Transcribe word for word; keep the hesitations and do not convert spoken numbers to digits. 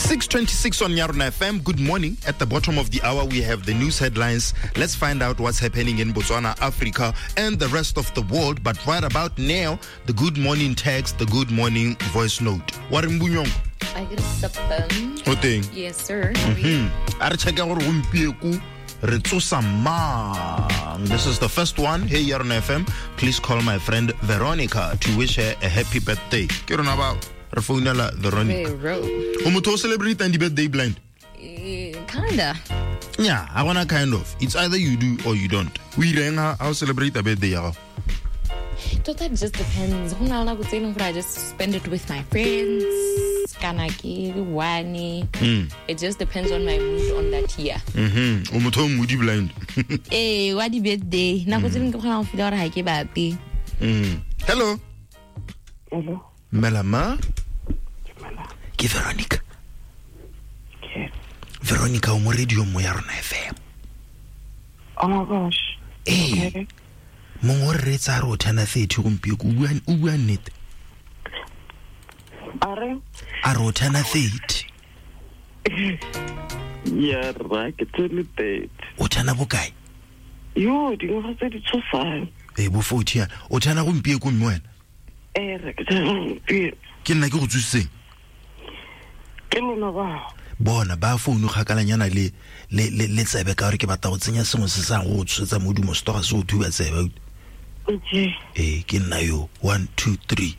six twenty-six on Yarona F M. Good morning. At the bottom of the hour, we have the news headlines. Let's find out what's happening in Botswana, Africa, and the rest of the world. But right about now, the good morning text, the good morning voice note. Warren Bunyong. I get a Oteng. Yes, sir. Mm-hmm. A re check gore gompieko re tsosa mang. This is the first one. Hey, Yarona F M. Please call my friend Veronica to wish her a happy birthday. Ke rona ba re founela Veronica. Vero. O motho o celebrate and birthday blind? Uh, kinda. Yeah, I wanna kind of. It's either you do or you don't. We ireng ha o celebrate a birthday ya gago? Tota, it just depends. Ho na le nako tse leng gore I just spend it with my friends. Kana ke one. Mm. It just depends on my mood on that year. Mhm. O motho o moody blind. Eh, wa di birthday. Nako tse dingwe ke kgona go feel gore ha ke batle. Mm. Hello. Hello. Melama. Dumela. Ke Veronica. Ke. Veronica o mo radio mo ya rona F M. Oh my gosh. Eh. Okay. Mongwe o re reetsa a re o turna thirty gompieko, o bua, o bua nnete? A re? A re o turna thirty. Ya rra, ke turn thirty. O turna bokae? Yo, dingwaga tse di tshosang. Eh, bo forty yana. O turna gompieko mme wena? Eh, re ke turna gompieno. Ke nna ke go tsositseng? Ke lona bao. Bona ba founu kgakalanyana le le le le tsebe ka gore ke batla go tsenya sengwe se sa go tshosetsa modumo se toga se o thuba tsebe. Okay. Eh, ke nna yo. One, two, three.